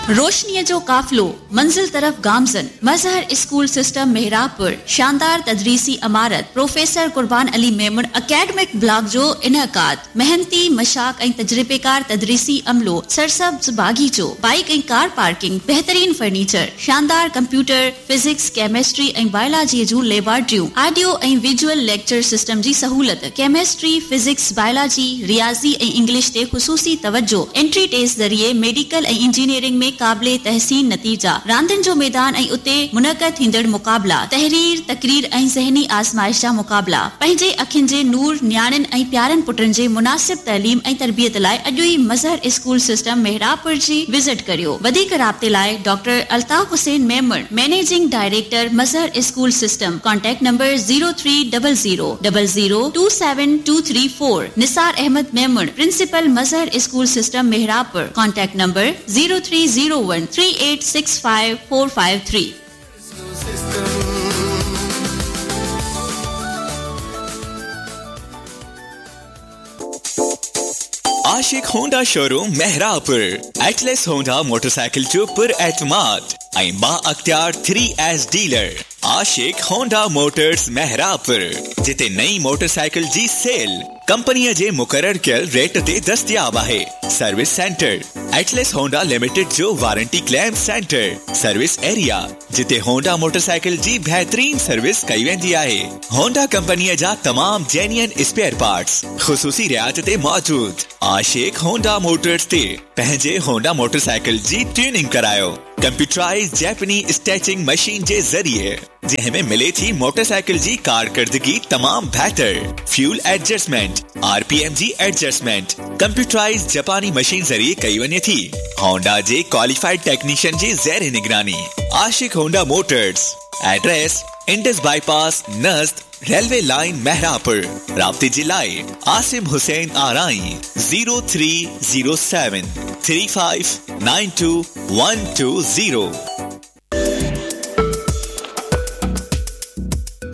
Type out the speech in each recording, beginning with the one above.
روشنيء جو قافلو منزل طرف گامزن، مظهر اسڪول سسٽم محرابپور، شاندار تدريسي عمارت، professor Qurban Ali Memon academic block جو انعقاد، محنتي، مشتاق ۽ تجربيڪار تدريسي عملو، سرسبز باغيچو، بائيڪ ۽ ڪار پارڪنگ، بهترين فرنيچر، شاندار ڪمپيوٽر، فزڪس، ڪيمسٽري ۽ بائلاجيء جون ليبارٽريون، آڊيو ۽ ويجوئل ليڪچر سسٽم جي سهولت، ڪيمسٽري، فزڪس، بائلاجي، رياضي ۽ انگلش تي خصوصي توجهه، انٽري ٽيسٽ ذريعي ميڊيڪل ۽ انجنيئرنگ ۾ قابل تحسين نتيجا، راندين جو ميدان ۽ اتي منعقد ٿيندڙ مقابلا، تحرير، تقرير ۽ ذهني آزمائش جا مقابلا، پنهنجي اکين جي نور، نياڻين ۽ پيارن پٽن جي مناسب تعليم ۽ تربيت لاء اڄ ئي مظهر اسڪول سسٽم محرابپور جي وزٽ ڪريو. وڌيڪ رابطي لاء doctor Altaf Hussain Memon, managing director Mazhar school system, contact number zero three double zero double zero two seven two three four, Nisar Ahmed Memon, principal Mazhar school system Mehrabpur, contact number zero three zero one three eight six five four five three. Ashiq Honda showroom Mehrabpur Atlas Honda motorcycle جو پر اعتماد ۽ بااختيار three S dealer Ashiq Honda motors Mehrabpur جتي نئين motorcycle جي cell ڪمپنيء جي مقرر ڪيل ريٽ تي دستياب آهي service centre Atlas Honda limited جو warranty claim centre service area جتي هونڊا موٽرسائيڪل جي بهترين سروس ڪئي ويندي آهي. هونڊا ڪمپنيء جا تمام جينيئن اسپيئر پارٽس خصوصي رعايت تي موجود. عاشق هونڊا موٽرز تي پنهنجي هونڊا موٽرسائيڪل جي ٽيوننگ ڪرايو. ڪمپيوٽرائيز جيپني اسٽيچنگ مشين جي ذريعي جنهن ۾ ملي ٿي موٽرسائيڪل جي ڪارڪردگي تمام بهتر، fuel adjustment, R P M جي ايڊجسٽمينٽ ڪمپيوٽرائيز جپاني مشين ذريعي ڪئي وڃي ٿي. هونڊا جي ڪواليفائيڊ ٽيڪنيشن جي زير نگراني. Ashiq Honda motors, address Indus bypass نزد ريلوي لائين محرابپور، رابطي جي لاء Asim Hussain Arain zero three zero seven three five nine two one two zero.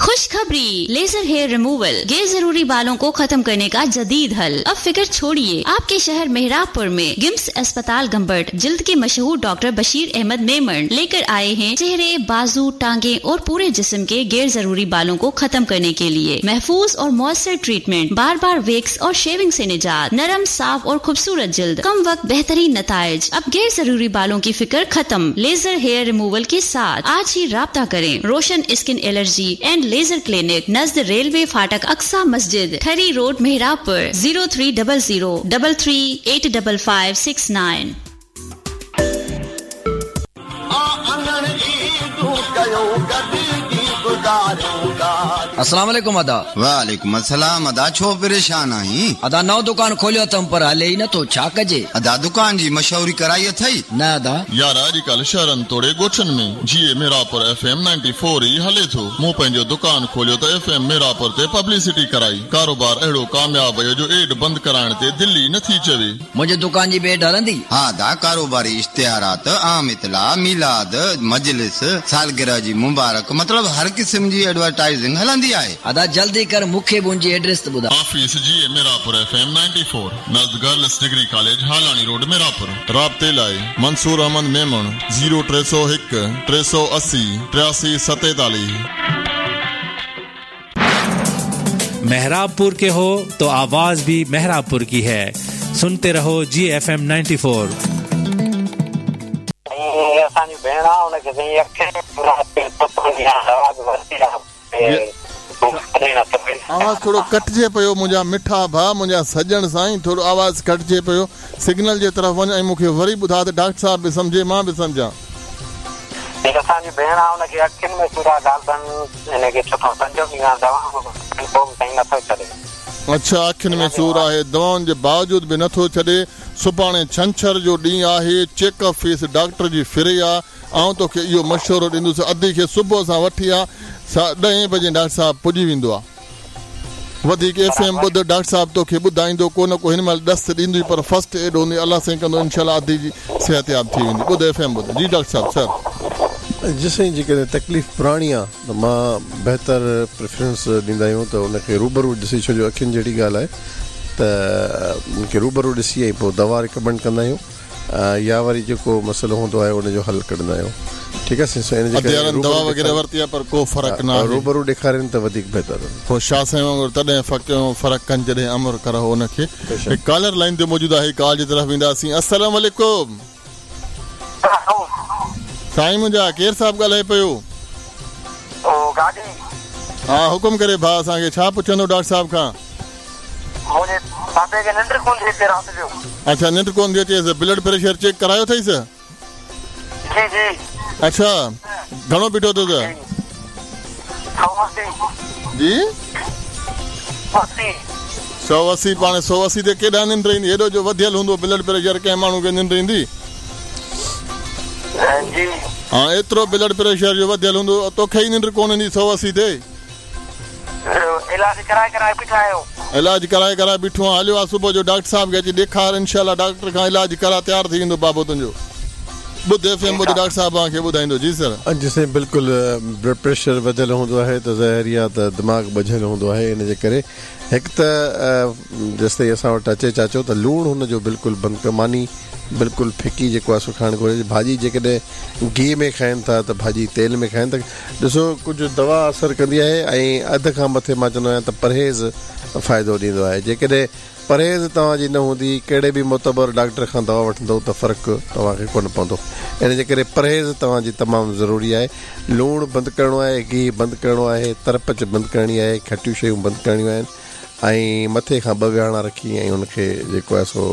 खुशखबरी लेजर हेयर रिमूवल गैर जरूरी बालों को खत्म करने का जदीद हल अब फिक्र छोड़िए आपके शहर मेहराबपुर में गिम्स अस्पताल गंबट जिल्द के मशहूर डॉक्टर बशीर अहमद मेमन लेकर आए हैं चेहरे बाजू टांगे और पूरे जिस्म के गैर जरूरी बालों को खत्म करने के लिए महफूज और मौसर ट्रीटमेंट बार बार वेक्स और शेविंग से निजात नरम साफ और खूबसूरत जिल्द कम वक्त बेहतरीन नताइज अब गैर जरूरी बालों की फिक्र खत्म लेजर हेयर रिमूवल के साथ आज ही राब्ता करें Roshan skin allergy and laser clinic नज़द रेलवे फाटक अक्सा मस्जिद Thari road Mehrabpur zero three double zero double three eight double five six nine. अस्सलाम वालेकुम अदा। वालेकुम अस्सलाम अदा, छो परेशान आहीं? अदा नओं दुकान खोलियो अथम पर हले ई नथो, छा कजे? अदा दुकान जी मशहूरी कराई अथई? न अदा। यार अॼुकल्ह शहरनि तोड़े ॻोठनि में जी ए मेरापुर एफ एम 94 ई हले थो। मूं पंहिंजो दुकान खोलियो त एफ एम मेरापुर ते पब्लिसिटी कराई। कारोबार अहिड़ो कामयाब वियो जो एड बंदि कराइण ते दिलि ई नथी चवे। मुंहिंजे दुकान जी बि एड हलंदी? हा अदा, कारोबारी इश्तिहारात, आम इतला, मीलाद, मजलिस, सालगिरह जी मुबारक, मतलब हर क़िस्म जी एडवर्टाइजिंग हलंदी आहे। अदा जल्दी कर मूंखे बि उनजी एड्रेस त ॿुधाए। ऑफिस जी ए मेरापुर एफ एम 94 नज़द girls degree college Halani road Mehrapur. राब्ते लाइ मंसूर अहमद मेमण ज़ीरो टे सौ हिकु टे सौ असी टियासी सतेतालीह। मेहराबपुर के हो तो आवाज भी मेहराबपुर की है। सुनते रहो जी एफ एम 94। ऐं असांजी भेण आहे हुनखे साईं अखियुनि दवा बि वरिती आहे। आवाज़ थोरो कटिजे पियो मुंहिंजा मिठा भाउ, मुंहिंजा सॼण साईं, थोरो आवाज़ कटिजे पियो। सिग्नल जे तरफ़ वञ ऐं मूंखे वरी ॿुधाए त डॉक्टर साहिब बि सम्झे, मां बि सम्झां। असांजी भेण आहे हुनखे अखियुनि में सूर आहे, ॻाल्हि हिनखे चोथों पंजो ॾींहुं आहे, दवा पोइ बि साईं नथो छॾे। अच्छा, अखियुनि में सूर आहे, दवाउनि जे बावजूद बि नथो छॾे। सुभाणे छंछर जो ॾींहुं आहे, चेकअप फीस डॉक्टर जी फ्री आहे। आउं तोखे इहो मशवरो ॾींदुसि, अधी खे सुबुह सां वठी आ, 10 बजे डॉक्टर साहिबु पुॼी वेंदो आहे। वधीक एफ एम ॿुध, डॉक्टर साहिबु तोखे ॿुधाईंदो, को न को हिन महिल ॾस ॾींदो, पर फर्स्ट एड हूंदी। अलाह साईं कंदो इंशाअल्लाह अधी जी सिहतयाब थी वेंदी। ॿुध एफ एम ॿुध। जी डॉक्टर साहिबु सर। जी साईं, जेकॾहिं तकलीफ़ पुराणी आहे त मां बहितर प्रेफरेंस ॾींदा आहियूं त उनखे रूबरू ॾिसी, छो जो अखियुनि जहिड़ी ॻाल्हि आहे त उनखे रूबरू ॾिसी ऐं पोइ दवा रिकमेंड कंदा आहियूं। يا وري جيڪو مسئلو هوندو آهي ان جو حل ڪڍندا آهيون ٺيڪ آهي سائين ان جي ڪري ادي دوا وغيره ورتي آهي پر ڪو فرق نه آهي روبرو ڏيکارين ته وڌيڪ بهتر. هو شاهه سائين وانگر تڏهن فقيهون فرق ڪن جڏهن امر ڪرهو ان کي. هڪ ڪالر لائين تي موجود آهي ڪال جي طرف وينداسين السلام عليڪم. سائين منهنجا ڪير صاحب ڳالهائي پيو. او گاڏي. ها حڪم ڪري ڀاء اسان کي ڇا پڇندو ڊاڪٽر صاحب کان. منهنجي بابي کي ننڊ ڪونه ٿي اچي رات جو. اڇا ننڊ ڪونه ٿي اچيس بلڊ پريشر چيڪ ڪرايو اٿئيس؟ جي جي. اڇا گهڻو بيٺو اٿس؟ 180. جي؟ 180. 180 پاڻ 180 تي ڪيڏانهن ننڊ ايندي هيڏو جو وڌيل هوندو بلڊ پريشر ڪنهن ماڻهو کي ننڊ ايندي؟ جي. ها ايترو بلڊ پريشر جو وڌيل هوندو توکي ئي ننڊ ڪونه ايندي 180 تي. علاج ڪرائي ڪرائي بيٺا آهيون. علاج ڪرائي ڪرائي بيٺو آهيان هليو آ صبح جو ڊاڪٽر صاحب کي اچي ڏيکار انشاء الله ڊاڪٽر کان علاج ڪرا تيار ٿي ويندو بابو تنهنجو ٻڌ ايف ايم ٻڌ ڊاڪٽر صاحب اوهان کي ٻڌائيندو جي سر. جي سائين بلڪل بلڊ پريشر وڌيل هوندو آهي ته ظاهر ئي آ ته دماغ ٻجهيل هوندو آهي ان جي ڪري هڪ ته جيستائين اسان وٽ اچي چاچو ته لوڻ هن جو بلڪل بند ڪر ماني بلڪل ڦڪي جيڪو آهي سو کائڻ گهرجي ڀاڄي جيڪڏهن گيهه ۾ کائن ٿا ته ڀاڄي تيل ۾ کائن ته ڏسو ڪجهه دوا اثر ڪندي آهي ۽ اڌ کان مٿي مان چوندو آهيان ته پرهيز فائدو ڏيندو آهي جيڪڏهن پرهيز توهان جي نه هوندي ڪهڙي به معتبر ڊاڪٽر کان دوا وٺندو ته فرق توهان کي ڪونه پوندو ان جي ڪري پرهيز توهان جي تمام ضروري آهي لوڻ بند ڪرڻو آهي گيهه بند ڪرڻو آهي ترپچ بند ڪرڻي آهي کٽيون شيون بند ڪرڻيون آهن ۽ مٿي کان ٻه ويهاڻا رکي ۽ ان کي جيڪو آهي سو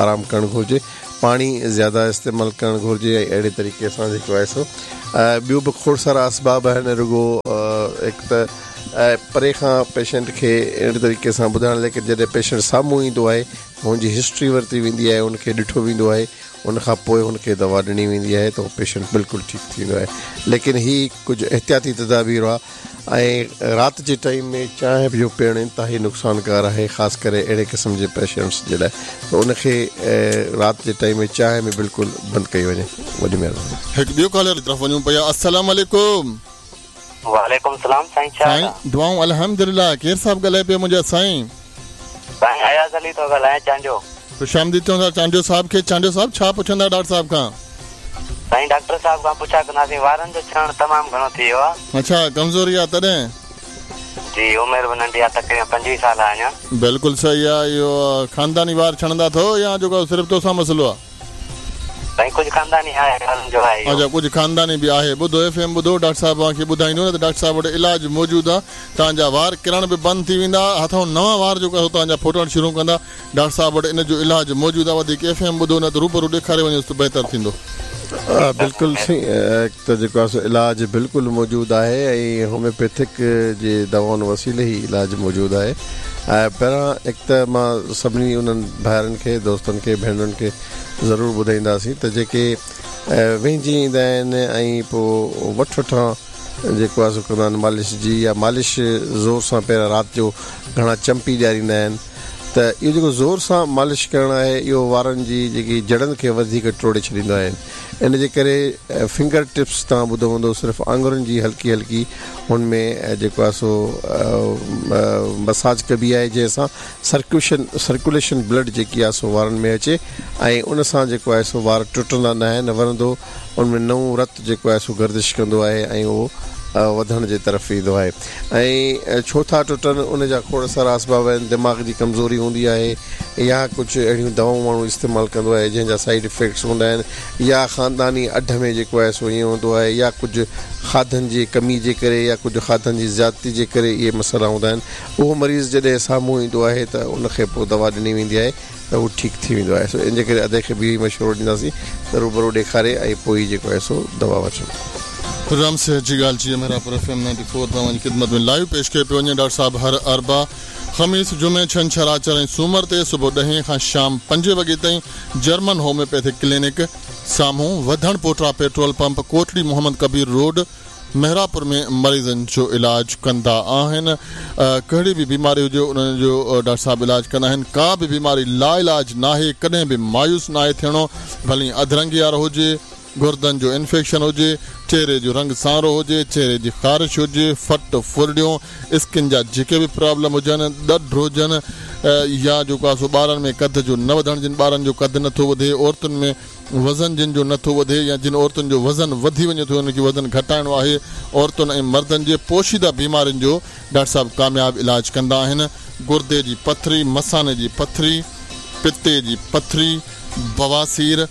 آرام ڪرڻ گهرجي پاڻي زياده استعمال ڪرڻ گهرجي ۽ اهڙي طريقي سان جيڪو آهي سو ٻيو به کوڙ سارا اسباب آهن رڳو هڪ ته پري کان پيشنٽ کي اهڙي طريقي سان ٻڌائڻ ليڪن جڏهن پيشنٽ سامهون ايندو آهي هن جي هسٽري ورتي ويندي آهي ان کي ڏٺو ويندو آهي ان کان پوء هن کي دوا ڏني ويندي آهي ته هو پيشنٽ بلڪل ٺيڪ ٿي ويندو آهي ليڪن هي ڪجهه احتياطي تدابير هئا ۽ رات جي ٽائيم ۾ چانهه جو پيئڻ انتهائي نقصانڪار آهي خاص ڪري اهڙي قسم جي پيشنٽس جي لاء ته ان کي رات جي ٽائيم ۾ چانهه به بلڪل بند ڪئي وڃي وڏي مهرباني. هڪ ٻيو ڪالر طرف وڃون پيا السلام عليڪم. وعليڪم السلام سائين ڇا حال آ. سائين دعائون الحمدلله ڪير صاحب ڳالهائي پيو منهنجا سائين. سائين اياز علي ٿو ڳالهايان چانڊيو. خوش آمديد چون ٿا چانڊيو صاحب کي چانڊيو صاحب ڇا پڇندا ڊاڪٽر صاحب کان. سائين ڊاڪٽر صاحب کان پڇا ڪنداسين وارن جو ڇڻڻ تمام گهڻو ٿي ويو آ. اڇا ڪمزوري آ تڏهن. جي عمر به ننڍي آ تقريبن 25 سال آ اڃا. بلڪل صحيح آ اهو خانداني وار ڇڻندا اٿو يا جيڪو صرف توسان مسئلو آ. سائين ڪجهه خانداني آهي وارن جو آهي اهو. اڇا ڪجهه خانداني به آهي ٻڌو ايف ايم ٻڌو ڊاڪٽر صاحب اوهان کي ٻڌائيندو نه ته ڊاڪٽر صاحب وٽ علاج موجود آ توهان جا وار ڪرڻ به بند ٿي ويندا هٿئون نوان وار جيڪو آهي سو توهان جا ڦٽڻ شروع ڪندا ڊاڪٽر صاحب وٽ ان جو علاج موجود آ وڌيڪ ايف ايم ٻڌو نه ته روبرو ڏيکاري وڃوس ته بهتر ٿيندو. بلڪل سائين هڪ ته جيڪو آهي سو علاج بلڪل موجود آهي ۽ هوميوپيٿڪ جي دوائن وسيلي هي علاج موجود آهي ۽ پهريان هڪ ته مان سڀني انهن ڀائرن کي دوستن کي ڀينرن کي ضرور ٻڌائينداسين ته جيڪي وهنجي ايندا آهن ۽ پوء وٺ وٺان جيڪو آهي سو ڪندا آهن مالش جي يا مالش زور سان پهريان رات جو گهڻا چمپي ڏياريندا آهن ته اهو جيڪو زور سان مالش ڪرڻ آهي اهو وارن جي جيڪي جڙن کي وڌيڪ ٽوڙي ڇڏيندو آهي ان جي ڪري فنگر ٽپس توهان ٻڌو هوندو صرف آڱرين جي هلڪي هلڪي ان ۾ جيڪو آهي سو مساج ڪبي آهي جنهن سان سرڪيوشن سرڪيوليشن بلڊ جيڪي آهي سو وارن ۾ اچي ۽ ان سان جيڪو آهي سو وار ٽٽندا نه آهن ورندو ان ۾ نئون رت جيڪو آهي سو گردش ڪندو آهي ۽ اهو وڌڻ جي طرف ايندو آهي ۽ ڇو ٿا ٽٽن ان جا کوڙ سارا اسباب آهن دماغ جي ڪمزوري هوندي آهي يا ڪجهه اهڙيون دوائون ماڻهو استعمال ڪندو آهي جنهن جا سائيڊ افيڪٽس هوندا آهن يا خانداني اڍ ۾ جيڪو آهي سو ائين هوندو آهي يا ڪجهه کاڌن جي ڪمي جي ڪري يا ڪجهه کاڌن جي زيادتي جي ڪري اهي مسئلا هوندا آهن اهو مريض جڏهن سامهون ايندو آهي ته ان کي پوء دوا ڏني ويندي آهي ته هو ٺيڪ ٿي ويندو آهي سو ان جي ڪري ادي کي به اهو ئي مشورو ڏينداسين ته روبرو ڏيکاري ۽ پوء ئي جيڪو آهي سو دوا وٺن. پروگرام صحت جي ڳالهه جي محرابپور ايف ايم 94 توهان جي خدمت ۾ لائيو پيش ڪيو پيو وڃي ڊاڪٽر صاحب هر اربع، خميس، جمعي، ڇنڇر، آچر ۽ سومر تي صبح ڏهين کان شام پنجين وڳي تائين جرمن هوميوپيٿڪ ڪلينڪ سامهون وڌڻ پوٽرا petrol pump Kotri Muhammad Kabir road Mehrabpur ۾ مريضن جو علاج ڪندا آهن ڪهڙي به بيماري هجي انهن جو ڊاڪٽر صاحب علاج ڪندا آهن ڪا به بيماري لاعلاج ناهي ڪڏهن به مايوس ناهي ٿيڻو ڀلي اڌرنگي وارو هجي گردن جو انفيڪشن هجي، چهري جو رنگ سانورو هجي، چهري جي خارش هجي، ڦٽ ڦرڙيون، اسڪن جا جيڪي به پرابلم هجن، ڏڍ هجن يا جيڪو آهي سو ٻارن ۾ قد جو نه وڌڻ جن ٻارن جو قد نه ٿو وڌي، عورتن ۾ وزن جن جو نه ٿو وڌي يا جن عورتن جو وزن وڌي وڃي ٿو انهن کي وزن گهٽائڻو آهي، عورتن ۽ مردن جي پوشيده بيمارين جو ڊاڪٽر صاحب ڪامياب علاج ڪندا آهن، گردي جي پٿري، مثاني جي پٿري، پتي جي پٿري، بواسير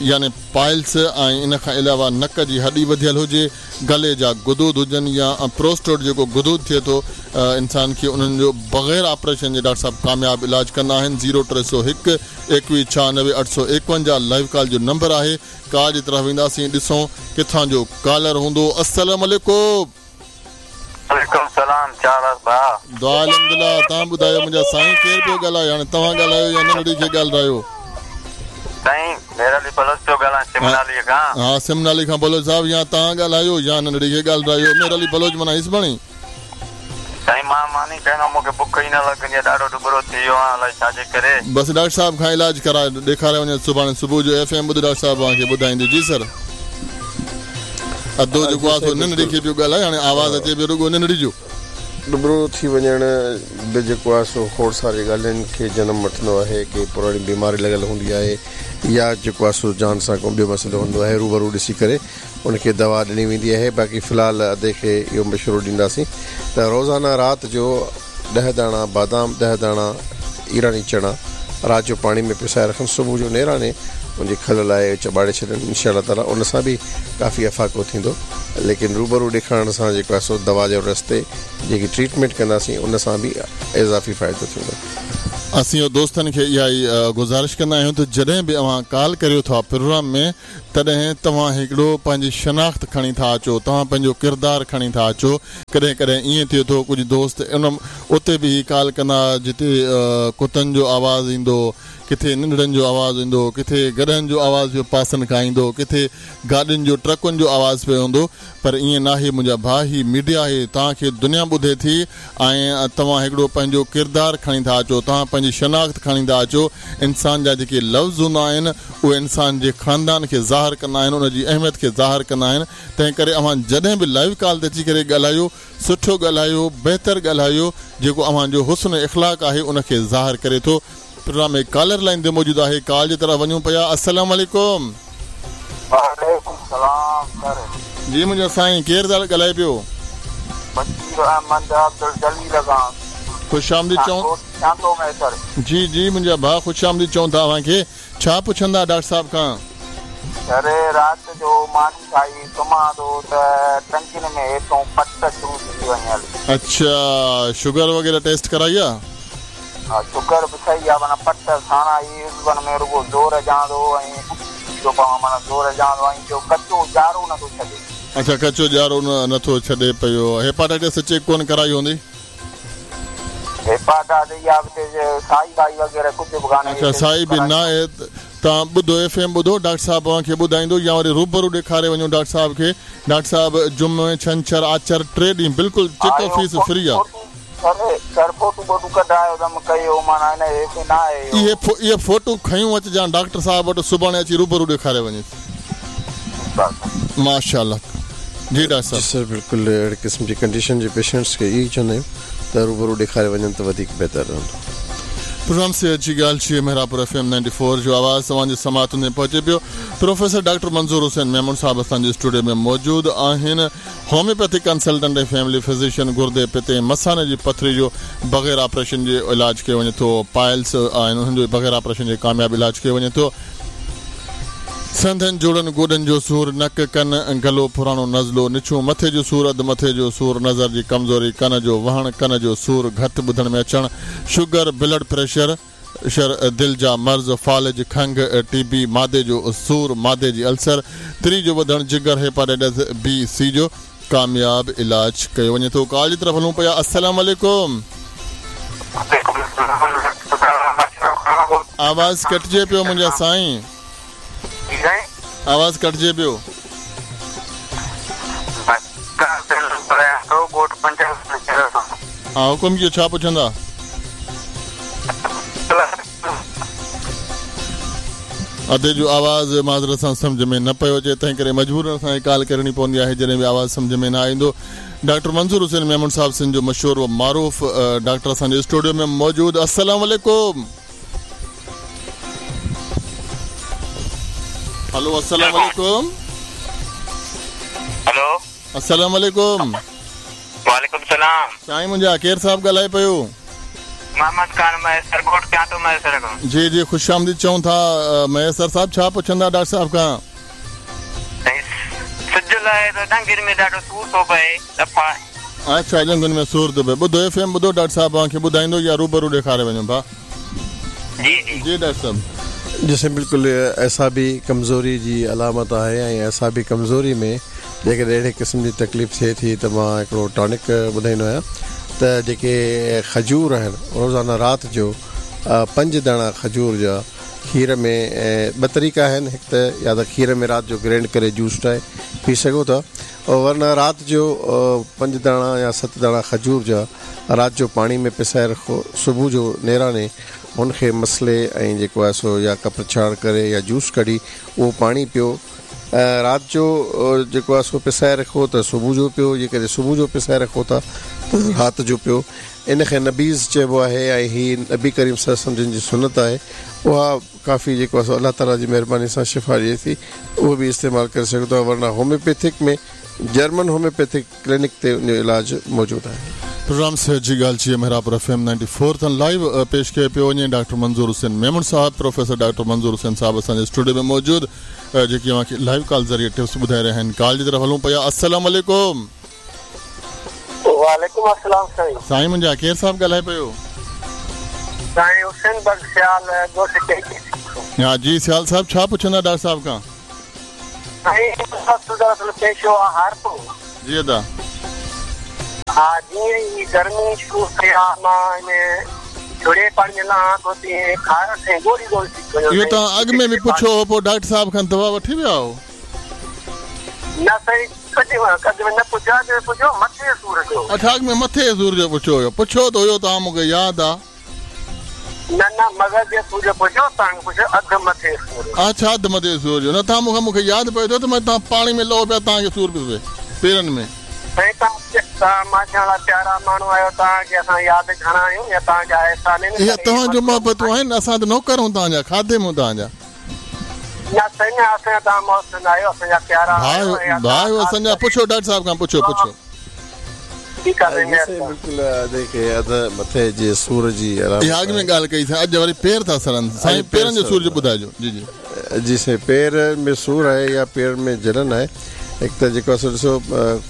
يعني پائلس ۽ ان کان علاوه نڪ جي هڏي وڌيل هجي، گلي جا غدود هجن يا پروسٽيٽ جيڪو غدود ٿئي ٿو انسان کي انهن جو بغير آپريشن جي ڊاڪٽر صاحب ڪامياب علاج ڪندا آهن زيرو 301 21 96 851 لائيو ڪال جو نمبر آهي ڪال جي طرف وينداسين ڏسون ڪٿان جو ڪالر هوندو السلام عليڪم. وعليڪم السلام ڇا حال آ ڀاء. دعا الحمدلله توهان ٻڌايو منهنجا سائين ڪير پيو ڳالهائي هاڻي توهان ڳالهايو يا ننڍڙي کي ڳالهرايو. سائين مير علي بلوچ پيو ڳالهايان سمنالي کان. ها سمنالي کان بلوچ صاحب يا توهان ڳالهايو يا ننڍڙي کي ڳالهرايو مير علي بلوچ معنيٰ هيسباڻي. سائين مان ماني کائيندو آهيان مونکي بک ئي نه لڳندي آهي ڏاڍو ڏٻرو ٿي ويو آهيان الائي ڇا جي ڪري. بس ڊاڪٽر صاحب کان علاج ڪرائي ڏيکاري وڃو سڀاڻي صبح جو ايف ايم ٻڌ ڊاڪٽر صاحب اوهان کي ٻڌائيندو جي سر. ادو جي جيڪو آ سائين سو ننڍڙي بلڪل کي پيو ڳالهائي هاڻي آواز اچي پيو رڳو ننڍڙي جو. ڏٻرو ٿي وڃڻ به جيڪو آهي سو کوڙ ساري ڳالهين کي جنم وٺندو آهي ڪي پراڻي بيماري لڳل هوندي آهي يا جيڪو آهي سو جان سان ڪو ٻيو مسئلو هوندو آهي روبرو ڏسي ڪري ان کي دوا ڏني ويندي آهي باقي في الحال ادي کي اهو مشورو ڏينداسين ته روزانه رات جو ڏهه داڻا بادام ڏهه داڻا ايراني چڻا رات جو پاڻي ۾ پسائي رکن صبح جو نيراني ان جي کل لاهي چٻاڙي ڇڏن انشاء الله تعالي ان سان به ڪافي افاقو ٿيندو ليڪن روبرو ڏيکارڻ سان جيڪو آهي سو دوا جي رستي جيڪي ٽريٽمينٽ ڪنداسين ان سان به اضافي فائدو ٿيندو. اسين دوستن کي اها ئي گذارش ڪندا آهيون ته جڏهن به اوهان ڪال ڪريو ٿا پروگرام ۾ تڏهن توهان هڪڙو پنهنجي شناخت کڻي ٿا اچو، توهان پنهنجو ڪردار کڻي ٿا اچو. ڪڏهن ڪڏهن ائين ٿئي ٿو ڪجهه دوست ان اتي به هي ڪال ڪندا جتي ڪتن جو آواز ايندو، ڪٿي ننڍڙن جو آواز ايندو، ڪٿي گڏهن جو آواز پيو پاسن کان ايندو، ڪٿي گاڏين جو ٽرڪن جو آواز پيو ايندو پر ائين ناهي منهنجا ڀاء هي ميڊيا آهي توهان کي دنيا ٻڌي ٿي ۽ توهان هڪڙو پنهنجو ڪردار کڻي ٿا اچو توهان پنهنجي شناخت کڻي ٿا اچو انسان جا جيڪي لفظ هوندا آهن اهي انسان جي خاندان کي ظاهر ڪندا آهن ان جي اهميت کي ظاهر ڪندا آهن تنهن ڪري اوهان جڏهن به لائيو ڪال تي اچي ڪري ڳالهايو سٺو ڳالهايو بهتر ڳالهايو جيڪو اوهان جو حسن اخلاق آهي ان کي ظاهر ڪري ٿو پروگرام ۾ ڪالر لائين تي موجود آهي ڪال جي طرف وڃون پيا السلام عليڪم. وعليڪم السلام سر. جي منهنجا سائين ڪير ٿا ڳالهائي پيو. بشير احمد عبدالجليل کان. خوش آمديد چئون. ڳوٺ چاندو مهيسر. جي جي منهنجا ڀاء خوش آمديد چئون ٿا اوهان کي ڇا پڇندا ڊاڪٽر صاحب کان. سر رات جو ماني کائي سمهان ٿو ته ٽنگن ۾ هيٺون پٽ شروع ٿي ٿي وڃي هلي. اڇا شگر وغيره ٽيسٽ ڪرائي آ. ها شگر به صحيح آ معنيٰ پٽ ساڻا ئي عضون ۾ رڳو زور اچان ٿو ۽ اٿي ٿو پوان معنيٰ زور اچان ٿو ۽ ٻيو ڪچو ڄارو نه ٿو ڇڏي. اڇا ڪچو ڄارو نه ٿو ڇڏي پيو هيپاٽائٽس چيڪ ڪونه ڪرائي هوندي. هيپاٽائٽس اها به سائي وائي وغيره ڪجهه به ڪانهي. اڇا سائي به ناهي توهان ٻڌو ايف ايم ٻڌو ڊاڪٽر صاحب اوهان کي ٻڌائيندو يا وري روبرو ڏيکاري وڃو ڊاڪٽر صاحب کي ڊاڪٽر صاحب جمعي ڇنڇر آچر ٽي ڏينهن بلڪل چيڪ اپ فيس فري آ. سر فوٽو ٻوٽو ڪڍرايو اٿم ڪيو معنيٰ ان کي ناهي اهو. اهي فوٽو کنيون اچجان ڊاڪٽر صاحب وٽ سڀاڻي اچي روبرو ڏيکاري وڃيس. ماشاءالله جي ڊاڪٽر صاحب. جي سر بلڪل اهڙي قسم جي ڪنڊيشن جي پيشنٽس کي اهو ئي چوندا آهيون ته روبرو ڏيکاري وڃن ته وڌيڪ بهتر رهندو. پروگرام صحت جي ڳالهه جي Mehrabpur F M ninety four جو آواز توهان جي سماعتن تائين پهچي پيو. پروفيسر ڊاڪٽر منظور حسين ميمڻ صاحب اسان جي اسٽوڊيو ۾ موجود آهن. هوميوپيٿڪ ڪنسلٽنٽ ۽ فيملي فزيشن گردي، پتي ۽ مثاني جي پٿري جو بغير آپريشن جي علاج ڪيو وڃي ٿو. پائلس آهن انهن جو بغير آپريشن جي ڪامياب علاج ڪيو وڃي ٿو. سنڌن، جوڙن، گوڏن جو سور، نڪ، ڪن، گلو، پراڻو نزلو، نڇون، مٿي جو سور، اڌ مٿي جو سور، نظر جي ڪمزوري، ڪن جو وهڻ، ڪن جو سور، گهٽ ٻڌڻ ۾ اچڻ، شگر، بلڊ پريشر، دل جا مرض، فالج، کنگهه، ٽي بي، معدي جو سور، معدي جي السر، تري جو وڌڻ، جگر، هيپاٽائٽس بي، سي جو ڪامياب علاج ڪيو وڃي ٿو. ڪال جي طرف هلون پيا. السلام عليڪم. آواز ڪٽجي پيو منهنجا سائين. آواز ڪٽجي پيو. ها حڪم ڪيو ڇا پڇندا. ادي جو آواز معذرت سان سمجهه ۾ نه پيو اچي تنهن ڪري مجبورن اسان کي ڪال ڪرڻي پوندي آهي جڏهن به آواز سمجهه ۾ نه ايندو. ڊاڪٽر منظور حسين ميمڻ صاحب سنڌ جو مشهور و معروف ڊاڪٽر اسان جي اسٽوڊيو ۾ موجود السلام عليڪم. هلو السلام عليڪم. هلو. السلام عليڪم. وعليڪم السلام. سائين منهنجا ڪير صاحب ڳالهائي پيو؟ محمد خان مهيسر ڳوٺ ڪيانٽو مهيسر کان. جي جي خوش آمديد چئون ٿا مهيسر صاحب ڇا پڇندا ڊاڪٽر صاحب کان؟ سائين سج لهي ته ڄنگهن ۾ ڏاڍو سور ٿو پئي دفعا. اڇا ڄنگهن ۾ سور ٿو پئي ٻڌو ايف ايم ٻڌو ڊاڪٽر صاحب اوهان کي ٻڌائيندو يا روبرو ڏيکاري وڃو ڀا. جي جي. جي ڊاڪٽر صاحب. جي سائين بلڪل اعصابي ڪمزوري جي علامت آهي ۽ اعصابي ڪمزوري ۾ جيڪڏهن اهڙي قسم جي تڪليف ٿئي ٿي ته مان هڪڙو ٽانڪ ٻڌائيندو آهيان ته جيڪي کجور آهن روزانه رات جو پنج داڻا کجور جا کير ۾ ٻه طريقا آهن هڪ ته يا ته کير ۾ رات جو گرينڊ ڪري جوس ٺاهي پي سگهو ٿا ورنه رات جو پنج داڻا يا ست داڻا کجور جا رات جو پاڻي ۾ پسائي رکو صبح جو نيراني هن کي مسلي ۽ جيڪو آهي سو يا ڪپر ڇاڻ ڪري يا جوس ڪڍي اهو پاڻي پيو رات جو جيڪو آهي سو پسائي رکو ته صبح جو پيو جيڪڏهن صبح جو پسائي رکو ٿا ته رات جو پيو ان کي نبيذ چئبو آهي ۽ هي نبي ڪريم صلي الله عليه وسلم جن جي سنت آهي اها ڪافي جيڪو آهي سو الله تعالي جي مهرباني سان شفا ڏئي ٿي اهو به استعمال ڪري سگهو ٿا ورنه هوميوپيٿڪ ۾ جرمن هوميوپيٿڪ ڪلينڪ تي ان جو علاج موجود آهي. پروگرام صحت جي ڳالهه چيت Mehrabpur F M ninety four تان لائيو پيش ڪيو پيو وڃي ڊاڪٽر منظور حسين ميمڻ صاحب پروفيسر ڊاڪٽر منظور حسين صاحب اسان جي اسٽوڊيو ۾ موجود جيڪي اوهان کي لائيو ڪال ذريعي ٽپس ٻڌائي رهيا آهن ڪال جي طرف هلون پيا السلام عليڪم. وعليڪم السلام سائين. سائين منهنجا ڪير صاحب ڳالهائي پيو. سائين حسين بخش سيال ڳوٺ ٽيڪي سيکو. ها جي سيال صاحب ڇا پڇندا ڊاڪٽر صاحب کان. سائين منهنجو دراصل پيشو آ هارپو. جي ادا. ها جيئن ئي گرمي شروع ٿئي ها مان ان جهڙي پاڻي ۾ لهان ٿو تيئن خارس ۽ ڳوڙهي ڳوڙهي ٿي وڃان اهو توهان اڳ ۾ به پڇيو هو پوء ڊاڪٽر صاحب کان دوا وٺي ويا هو. نه سائين ڪڏهن اڳ ۾ نه پڇيو اڳ ۾ پڇيو مٿي جي سور جو. اڇا اڳ ۾ مٿي جي سور جو پڇيو هيو پڇيو ته هيو توهان مون کي ياد آ. نه نه مغز جي سور جو پڇيو توهان کي پڇيو اڌ مٿي سور جو. اڇا اڌ مٿي سور جو نه توهان مون کي مون کي ياد پئي ٿو ته مان توهان پاڻي ۾ لهو پيا توهان کي سور پيو پئي پيرن ۾. سائين توهان ماشاء الله پيارا ماڻهو آهيو توهان کي اسان ياد گهڻا آهيون يا توهان جا احسان آهن اهي توهان جو محبتون آهن اسان ته نوڪر آهيون توهان جا خادم آهيون توهان جا. نه سائين نه اسان جا توهان محسن آهيو اسان جا پيارا آهيو ۽ ڀاء آهيو اسان جا پڇو ڊاڪٽر صاحب کان پڇو پڇو. ٺيڪ آ سائين جي سائين مهرباني. بلڪل ادي کي اڌ مٿي جي سور جي علامت اها اڳ ۾ آهي. ڳالهه ڪئي سائين اڄ وري پير ٿا سڙن سائين اڄ پير پيرن جو سور جو سڙن ٿا. ٻڌائجو جي جي. جي سائين پير ۾ سور آهي يا پيرن ۾ جلن آهي هڪ ته جيڪو آهي سو ڏسو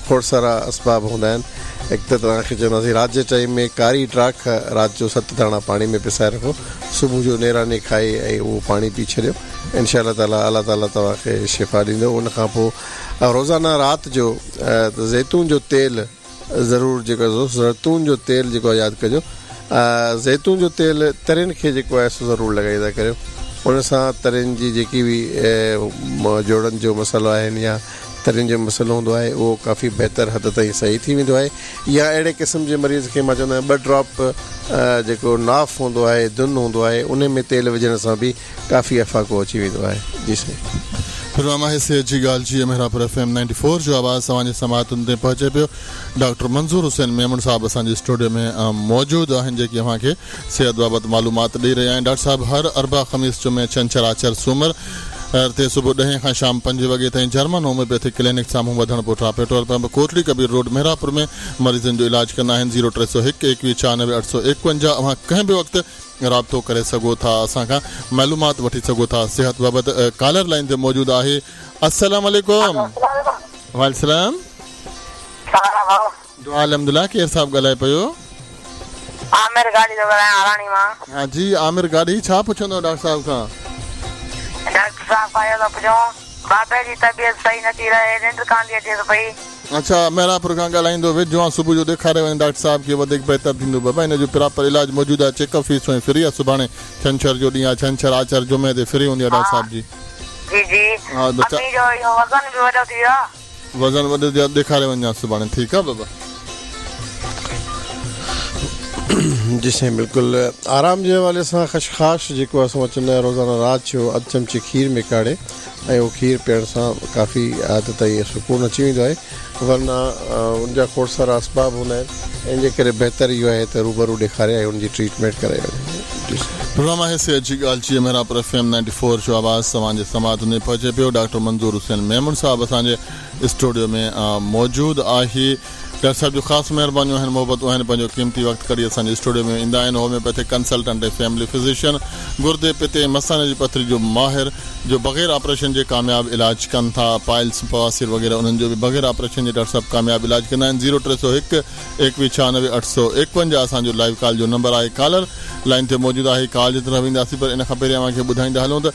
کوڙ سارا اسباب هوندا آهن هڪ ته توهان کي چونداسين رات جي ٽائيم ۾ ڪاري ڊاک رات جو ست داڻا پاڻي ۾ پسائي رکو صبح جو نيراني کائي ۽ اهو پاڻي پي ڇڏيو انشاء الله تعالي الله تعالي توهان کي شفا ڏيندو ان کان پوء روزانه رات جو زيتون جو تيل ضرور جيڪو آهي زيتون جو تيل جيڪو آهي ياد ڪجو زيتون جو تيل ترين کي جيڪو آهي سو ضرور لڳائيندا ڪريو ان سان ترين جي جيڪي به جوڙن جو مسئلو آهن يا ترين جو مسئلو هوندو آهي اهو ڪافي بهتر حد تائين صحيح ٿي ويندو آهي يا اهڙي قسم جي مريض کي مان چوندو آهيان ٻه ڊراپ جيڪو ناف هوندو آهي دن هوندو آهي ان ۾ تيل وجهڻ سان به ڪافي افاقو اچي ويندو آهي جي سائين. پروگرام آهي صحت جي ڳالهه جي Mehrabpur F M ninety four جو آواز توهان جي سماعتن تائين پهچي پيو ڊاڪٽر منظور حسين ميمڻ صاحب اسان جي اسٽوڊيو ۾ موجود آهن جيڪي اوهان کي صحت بابت معلومات ڏئي رهيا آهن ڊاڪٽر صاحب هر اربع خميس جمعي ڇنڇر آچر سومر تي صبح ڏهين کان شام پنج وڳي تائين جرمن هوميوپيٿڪ ڪلينڪ سامهون وڌڻ پٺيان پيٽرول پمپ ڪوٽڙي ڪبير روڊ محرابپور ۾ مريضن جو علاج ڪندا آهن زيرو 301 21 96 851 اوهان ڪنهن به وقت رابطو ڪري سگهو ٿا اسان کان معلومات وٺي سگهو ٿا صحت بابت ڪالر لائين تي موجود آهي السلام عليڪم وعليڪم السلام دعا الحمدلله ڪير صاحب ڳالهائي پيو؟ عامر گاڏهي ٿو ڳالهايان هالاڻي مان. ها جي عامر گاڏهي ڇا پڇندو ڊاڪٽر صاحب کان؟ ڊاڪٽر صاحب کان اهو ٿو پڇان بابي جي طبيعت صحيح نٿي رهي ننڊ ڪانه ٿي اچيس پئي. اڇا محرابپور کان ڳالهائيندو ويجهو آن صبح جو ڏيکاري وڃ ڊاڪٽر صاحب کي وڌيڪ بهتر ٿيندو بابا هن جو پراپر علاج موجود آهي چيڪ اپ فيس ۽ فري آهي سڀاڻي ڇنڇر جو ڏينهن آهي ڇنڇر آچر جمعي تي فري هوندي آهي ڊاڪٽر صاحب جي. جي جي امي جو اهو وزن به وڏو ٿي ويو آهي. وزن وڏو ٿي ويو آهي ڏيکاري وڃجان سڀاڻي ٺيڪ آهي بابا. جي سائين بلڪل آرام جي حوالي سان خشخاش جيڪو اسان چوندا آهيون روزانه رات جو اڌ چمچي کير ۾ ڪاڙهي ۽ اهو کير پيئڻ سان ڪافي حد تائين سڪون اچي ويندو آهي ورنه ان جا کوڙ سارا اسباب هوندا آهن ان جي ڪري بهتر اهو آهي ته روبرو ڏيکاري ۽ ان جي ٽريٽمينٽ ڪرائي وڃي جي سائين. پروگرام آهي صحت جي ڳالهه جيئن محرابپور ايف ايم 94 جو آواز توهان جي سماعتن تائين پهچي پيو ڊاڪٽر منظور حسين ميمڻ صاحب اسان جي اسٽوڊيو ۾ موجود آهي. ڊاڪٽر صاحب جون خاص مهربانيون آهن محبتون آهن پنهنجو قيمتي وقت ڪڍي اسان جي اسٽوڊيو ۾ ايندا آهن هوميوپيٿڪ ڪنسلٽنٽ ۽ فيملي فزيشن گردي پتي ۽ مثاني جي پٿري جو ماهر جو بغير آپريشن جي ڪامياب علاج ڪن ٿا پائلس بواسير وغيره انهن جو به بغير آپريشن جي ڊاڪٽر صاحب ڪامياب علاج ڪندا آهن زيرو 301 21 96 851 اسان جو لائيو ڪال جو نمبر آهي ڪالر لائين تي موجود آهي ڪال جي طرف وينداسين پر ان کان پهرين اوهان کي ٻڌائيندا هلون ته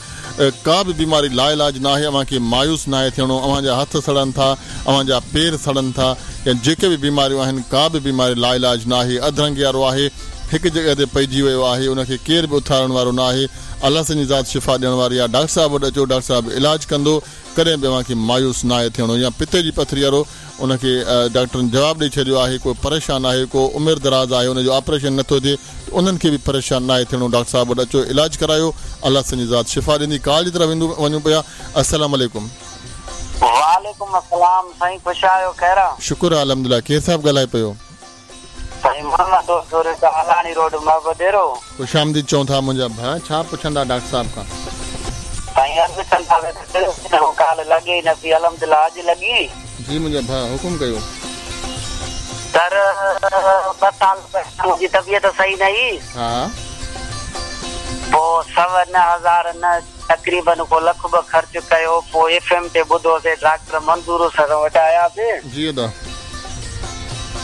ڪا به بيماري لاعلاج ناهي، اوهان کي مايوس ناهي ٿيڻو، اوهان جا هٿ سڙن ٿا، اوهان جا پير سڙن ٿا يا جيڪي به بيماريون آهن، ڪا به بيماري لاعلاج ناهي، اڌرنگي وارو آهي، هڪ جڳهه تي پئجي ويو آهي، ان کي ڪير به اٿارڻ وارو ناهي، الله سائين جي ذات شفا ڏيڻ واري آهي، ڊاڪٽر صاحب وٽ اچو، ڊاڪٽر صاحب علاج ڪندو، ڪڏهن به اوهان کي مايوس ناهي ٿيڻو يا پتي جي پٿري وارو ان کي ڊاڪٽرن جواب ڏئي ڇڏيو آهي ڪو پريشان آهي ڪو عمر دراز آهي ان جو آپريشن نٿو ٿئي ته انهن کي به پريشان ناهي ٿيڻو ڊاڪٽر صاحب وٽ اچو علاج ڪرايو الله سائين جي ذات شفا ڏيندي ڪال جي طرف ويندو وڃون پيا السلام عليڪم. وعليڪم السلام سائين خوش آهيو خير آ. شڪر آ الحمدلله ڪير صاحب ڳالهائي پيو. سائين محمد دوست زوريتا هالاڻي روڊ محبت ڏيرو. خوش آمديد چئون ٿا منهنجا ڀاء ڇا پڇندا ڊاڪٽر صاحب کان. سائين عرض ڪندا ته ڪهڙو ڏينهن هو ڪال لڳي ئي نه پئي الحمدلله اڄ لڳي. جي منهنجا ڀاء حڪم ڪيو. سر ٻه سال پهريان منهنجي طبيعت صحيح نه هئي. ها. پوء سوا نه هزار نه تقريبن ڪو لک ٻه خرچ ڪيو پوء ايف ايم تي ٻڌوسي ڊاڪٽر منظور سر وٽ آياسي. جي ادا.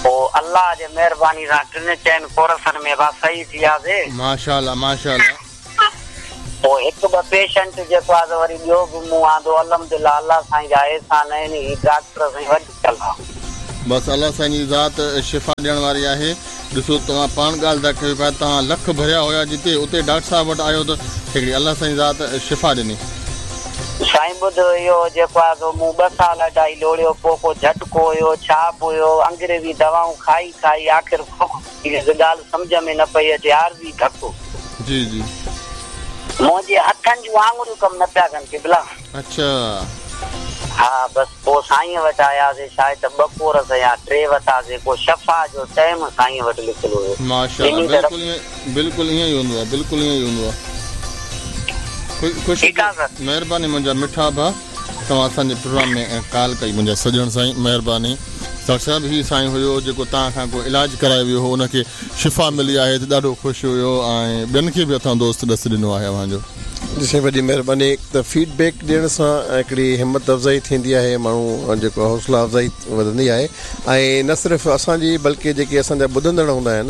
پوء الله جي مهرباني سان ٽن چئن ڪورسن ۾ با صحيح ٿي وياسي. ماشاءالله ماشاءالله. پوء هڪ ٻه پيشنٽ جيڪو آ سو وري ٻيو به مون آندو الحمدلله الله سائين جا احسان آهن هي ڊاڪٽر سائين وڏي ڪلا. بس الله سائين جي ذات شفا ڏيڻ واري آهي. ڏسو توهان پاڻ ڳالهه ٿا ڪيو پيا توهان لک ڀريا هيا جتي اتي ڊاڪٽر صاحب وٽ آيو ته هڪڙي الله سائين ذات شفا ڏني. سائين ٻڌ اهو جيڪو آهي سو مون ٻه سال اڍائي لوڙيو پوء ڪو جهٽڪو هيو ڇا به هيو انگريزي دوائون کائي کائي آخر کوکو ٿي ويس ڳالهه سمجهه ۾ نه پئي اچي عارضي ڌڪ. جي جي. منهنجي هٿن جون آڱريون ڪم نه پيا ڪن قبلا. اڇا. ها بس پوء سائينء وٽ آياسي شايد ته ٻه ڪورس يا ٽي وتاسي ڪو شفا جو ٽيم سائينء وٽ لکيل هيو. ماشاءالله ٻنهي طرف. بلڪل ائين بلڪل ائين ئي هوندو آ بلڪل ائين ئي هوندو آ خوش ٺيڪ آ سر. مهرباني منهنجا مٺا ڀا توهان اسان جي پروگرام ۾ ڪال ڪئي منهنجا سڄڻ سائين مهرباني ڊاڪٽر صاحب هي سائين هيو جيڪو توهان کان ڪو علاج ڪرائي ويو هو ان کي شفا ملي آهي ته ڏاڍو خوش هيو ۽ ٻين کي به اسان دوست ڏس ڏنو آهي اوهان جو. جي سائين وڏي مهرباني ته فيڊ بيڪ ڏيڻ سان هڪڙي همت افزائي ٿيندي آهي ماڻهو جيڪو حوصلا افزائي وڌندي آهي ۽ نه صرف اسان جي بلڪه جيڪي اسان جا ٻڌندڙ هوندا آهن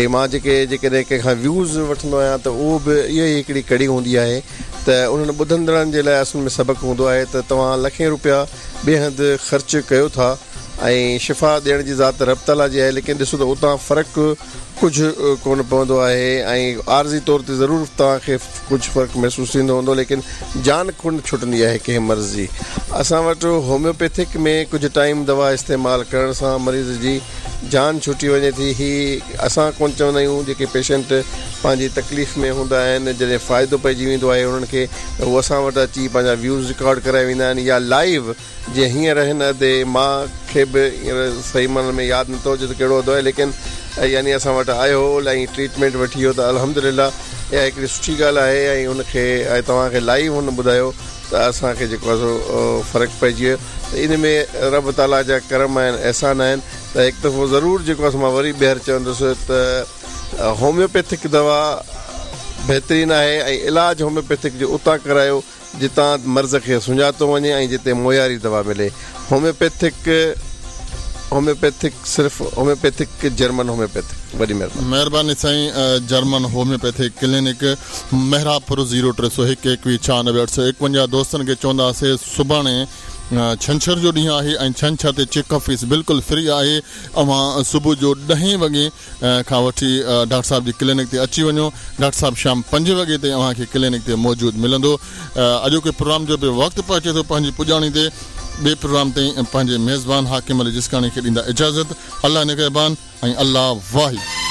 ۽ مان جيڪي جيڪڏهن ڪنهن کان ويوز وٺندو آهيان ته اهو به اها ئي هڪڙي ڪڙي هوندي آهي ته انهن ٻڌندڙن جي لاء اصل ۾ سبق هوندو آهي ته توهان لکين روپيا ٻئي هنڌ خرچ ڪيو ٿا ۽ شفا ڏيڻ جي ذات رب تعاليٰ جي آهي ليڪن ڏسو ته اتان فرق ڪجهه ڪونه پوندو آهي ۽ عارضي طور تي ضرور توهان کي ڪجهه فرق محسوس ٿيندو هوندو ليڪن جان ڪونه ڇٽندي آهي ڪنهن مرض جي. اسان وٽ هوميوپيٿڪ ۾ ڪجهه ٽائيم دوا استعمال ڪرڻ سان مريض جي جان ڇٽي وڃي ٿي هي اسان ڪونه چوندا آهيون جيڪي پيشنٽ پنهنجي تڪليف ۾ هوندا آهن جڏهن فائدو پئجي ويندو آهي انهن کي ته هو اسان وٽ اچي پنهنجا ويوز رڪارڊ ڪرائي ويندا آهن يا لائيو جيئن هينئر هن ادي مان کي به هينئر صحيح معنيٰ ۾ ياد نٿو اچي ته ڪهڙو ادو آهي ليڪن يعني اسان وٽ آيو هو ۽ ٽريٽمينٽ وٺي ويو ته الحمدلله اها هڪڙي سٺي ڳالهه آهي ۽ ان کي ۽ توهان کي لائيو هن ٻڌايو ته اسان کي جيڪو آهي سو فرق پئجي ويو ته ان ۾ رب تعاليٰ جا ڪرم آهن احسان آهن ته هڪ دفعو ضرور جيڪو آهي سو مان وري ٻيهر چوندس ته هوميوپيٿڪ دوا بهترين آهي ۽ علاج هوميوپيٿڪ جو اتان ڪرايو جتان مرض کي سڃاتو وڃي ۽ جتي معياري دوا ملي. هوميوپيٿڪ هوميوپيٿڪ صرف هوميوپيٿڪ جرمن هوميوپيٿڪ وڏي مهرباني. مهرباني سائين German homeopathic clinic Mehrabpur zero 301 21 96 851 دوستن کي چونداسي سڀاڻي ڇنڇر جو ڏينهن آهي ۽ ڇنڇر تي چيڪ اپ فيس بلڪل فري آهي اوهان صبح جو ڏهين وڳي کان وٺي ڊاڪٽر صاحب جي ڪلينڪ تي اچي وڃو ڊاڪٽر صاحب شام پنجين وڳي تائين اوهان کي ڪلينڪ تي موجود ملندو اڄوڪي پروگرام جو به وقت پهچي ٿو پنهنجي پڄاڻي تي ٻئي پروگرام تائين پنهنجي ميزبان حاڪم علي جسڪاڻي کي ڏيندا اجازت الله نگهبان ۽ الله واهي.